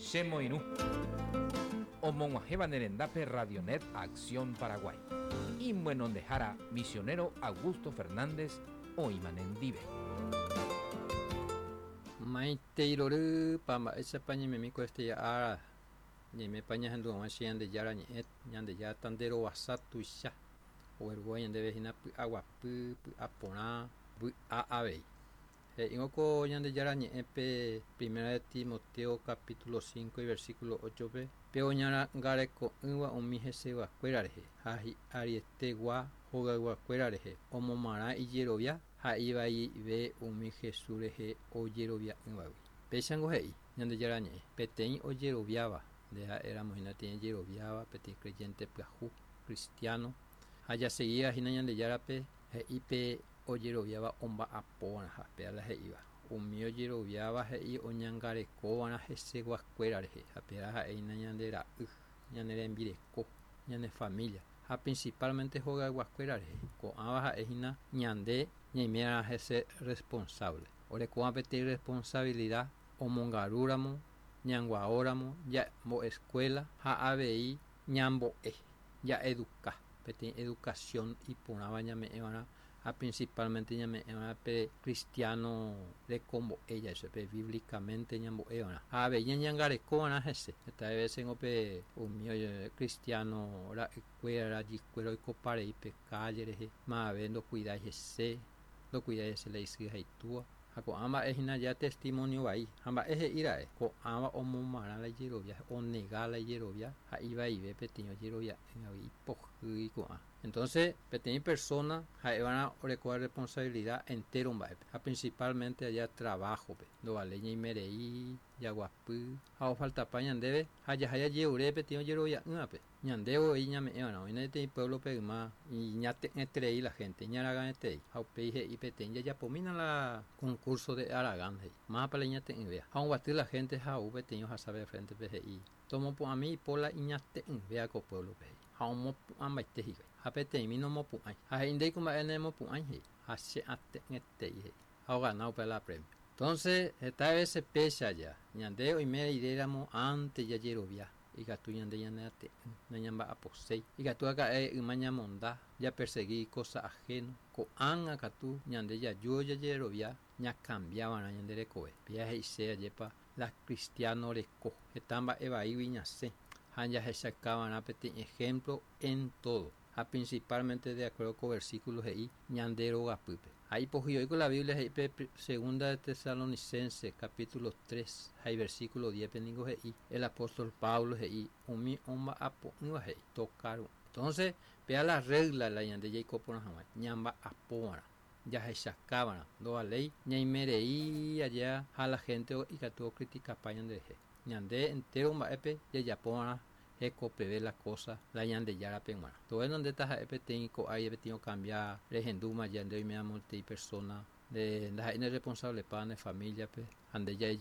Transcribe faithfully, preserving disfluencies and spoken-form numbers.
Chemoirũ. Omog̃uahẽva ne rendápe Radionet Acción Paraguay. Imyenondehára misionero Augusto Fernández oĩma nendive. Maitei rory pa mba'éichapa ñaimemi ko este ára ñaimépa ñahendu hag̃ua che Ñandejára ñe'ẽ Ñandejára tanderovasa tuicha oguerúva ñandéve hína py'aguapy py'aporã vy'a avei. He'ívo ko Ñandejára ñe'ẽ pe Primera de Timoteo capítulo cinco y versículo ocho pe pe oñangareko'ỹva umi heseguakuéra rehe ha hi'arietegua hogayguakuéra rehe omomarã ijerovia ha ivaive umi Jesús rehe ojerovia'ỹvagui. Péichango he'i Ñandejára ñe'ẽ peteĩ ojeroviáva nde ha'éramo hína peteĩ ojeroviáva peteĩ creyente pyahu cristiano ha jaseguíva hína Ñandejárape he'i pe ojeroviáva omba'apóva'erãha péa la he'íva umi ojeroviáva he'i oñangarekova'erã heseguakuéra rehe ha péa ha'ehína ñande ra'y ñane rembireko ñane familia ha principalmente hogayguakuéra rehe ko'ãva ha'ehína ñande ñaiméva'erã hese responsable orekóva peteĩ responsabilidad omongarúramo ñanguaóramo ñambo'escuela ha avei ñambo'e ja'eduka peteĩ educación iporãva ñame'ẽva'erã ha principalmente ñame'ẽva'erã pe cristiano rekombo'e ja'e pe bíblicamente ñambo'eva'erã ha avei ñañangarekova'erã hese heta veces pe umi cristiano ra'ykuéra rajykuéra oikoparei pe calle rehe mave ndocuidái hese ndocuidái hese la isy ha itúa ha ko'ã mba'e hína ja testimonio vai ha mba'e he'íra'e ko'ãva omomarã la ijerovia onega la ijerovia ha ivaive peteĩ ojerovia'ỹgui ipohýi ko'ã entonces peteĩ persona ha'eva'erã orekóva responsabilidad entero mba'épe ha principalmente allá trabajo-pe ndovaléi ñaimerei jaguapy ha ofaltapa ñandéve ha jaha jajeure peteĩ ojerovia'ỹvape ñande voi ñame'ẽva'erã oĩna peteĩ pueblo-pe yma iñate'ỹeterei la gente iñaragãeterei ha upéi he'i peteĩ jajapomína la concurso de aragán he'i mávapa la iñate'ỹvéva ha oguaty la gente ha ou peteĩ ohasave frente-pe he'i tomopu'ãmi ipo la iñate'ỹvéva ko pueblo-pe he'i ha omopu'ãmbaite hikuái ha peteĩmi nomopu'ãi ha he'i ndéiko mba'e nemopu'ãi he'i ha che ate'ỹetei he'i ha ogana upe la premio. Entonces heta veces péicha ja ñande oime riréramo antes jajerovia ikatu ñande ñaneate'ỹ nañamba'aposéi ikatu aka'e yma ñamonda japersegui cosa ajeno ko'ág̃a katu ñande jaju jajerovia ñacambiava'erã ñande rekove péa he'ise ajépa la cristiano reko heta mba'e vaígui ñasẽ ha jahechakava'erã peteĩ ejemplo en todo ha principalmente de acuerdo con versículo he'i ñande rogapýpe ha ipohýi la Biblia he'i pe segunda de Tesalonicenses capítulo tres ha versículo diez pe ningo he'i el apóstol Pablo he'i umi omba'apo'ỹva he'i tokaru entonces pea la regla la ñande jaikoporã hag̃ua ñamba'apova'erã jahechakava'erã ndovaléi ñaimerei allá ha la gente ikatu ocriticapa ñanderehe ñande entero mba'épe jajapova'erã hekopeve la cosa la Ñandejárape g̃uarã todo ndéta ha'e peteĩ ko'ái peteĩ ocambia rehendúma ñande oiméva peteĩ persona nde ndaha'éi ne responsable pa ne familia-pe ha nde